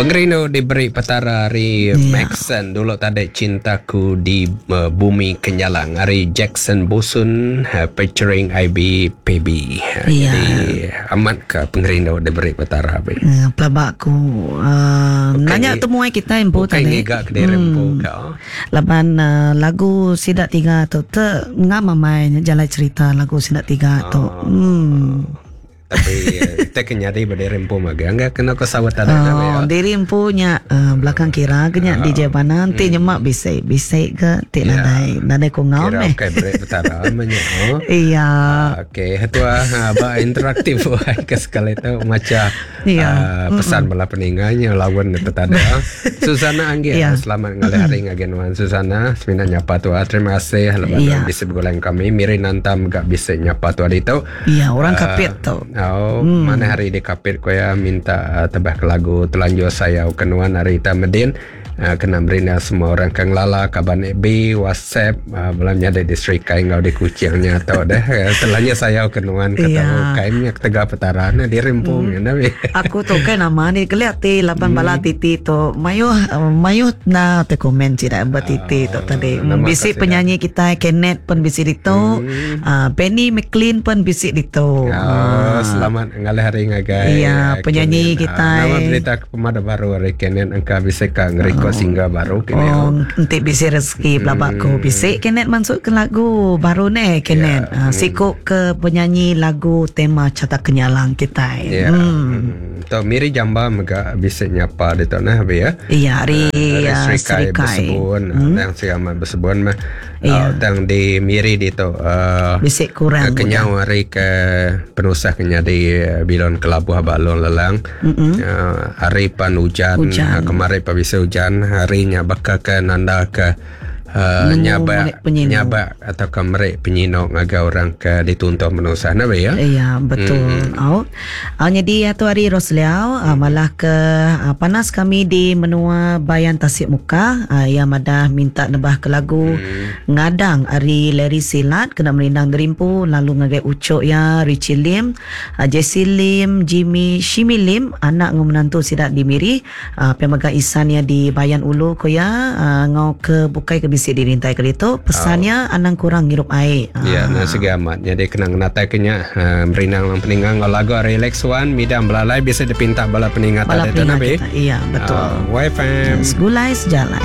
Pengerindu diberi Petara ari Maxon dulu tadi Cintaku di Bumi Kenyalang ari Jackson Busun featuring IB PB. Jadi amat ka pengerindu diberi Petara be. Pelaba aku nanya temuai kitai empu tadi. Bukai ngiga kediri empu ka. Laban lagu sida tiga tu te ngam amai jalai cerita lagu sida tiga tu. Tapi te ke nyadi ba diri empu magang ga kena ko saut tadi nya oh, diri empu nya uh, belakang kira ke nya uh, DJ Bana enti hmm. nyema bisi bisi ke ti yeah. nadai nadai ko ngau meh. Kira break petara meh nya. Oh. Iya. Uh, okey, tua ha, ba interaktif ke sekali tu maca yeah. uh, pesan bala peninga nya lawan tu tadi. Susana Anggi yeah. selamat ngalih hari ngagai nuan Susana semina nyapa tua terima kasih laban yeah. bisi begulai kami Miri Nantam ga bisi nyapa tua ditu. Iya, orang Kapit tu. Oh, hmm. mana hari di Kapit ko ya minta uh, tebah ke lagu Telanjur Sayau ke nuan hari ta Medin. Uh, kena merina semua orang ke ngelala kaban FB, WhatsApp, uh, belum nyadi di Serikai enggau di Kuching nya tau deh. Telanjur sayau ke nuan ke yeah. tau kaimnya ketegal petara ne diri empu hmm. nya Aku tu kan nama ni keliat ti laban hmm. bala titi tu mayuh mayuh na te komen sida ba titi tu tadi. Bisi penyanyi kita Kenneth pun bisi ditu. Hmm. Uh, Benny McLean pun bisi ditu. Oh, uh, selamat ngalih hari ngagai. Iya, penyanyi Kenan. kita. Uh, nama berita pemada baru hari Kenan engka bisi ka ngerekod oh. single baru kini. Oh, enti bisi rezeki hmm. pelaba aku bisi Kenan masuk ke lagu baru ne Kenan. Yeah. Uh, siku ke penyanyi lagu tema Cata Kenyalang kita. Yeah. Hmm. Hmm. Tu Miri Jamba mega bisi nyapa ditu nah abi ya. Iya, ari uh, Serikai, Serikai. Besebun, hmm. Nang Siamat Besebun mah. Iya. Uh, tang di Miri ditu uh, bisi kurang kenyau hari ke penusah ke nyadi bilon kelabuh ba Long Lelang. Mm -hmm. uh, hari pan hujan, hujan. Uh, kemari pa bisi hujan, hari nya baka ke nanda ke uh, nyabak nyabak atau ke meri penyino ngagai orang ke dituntung penusah nah ya. Iya, betul. Mm -hmm. Oh. Uh, jadi tu hari Rosliau uh, malah ke uh, panas kami di menua Bayan Tasik Muka uh, ia madah minta nebah ke lagu hmm. Ngadang ari Larry Silat kena merindang derimpu lalu ngagai ucuk ya Richie Lim, uh, Jesse Lim, Jimmy Shimi Lim anak ngau menantu sida di Miri uh, pemaga isan ya di Bayan Ulu ko ya uh, ngau ke bukai ke bisi dirintai ke ditu pesannya oh. anang kurang ngirup air. Uh. Ya, nah segi amat. Jadi kena ngenatai ke nya uh, merinang lang peninga ngau lagu Relax One midang belalai bisa dipinta bala peninga bala tadi tu nabi. Iya, betul. Uh, YFM. Segulai sejalai.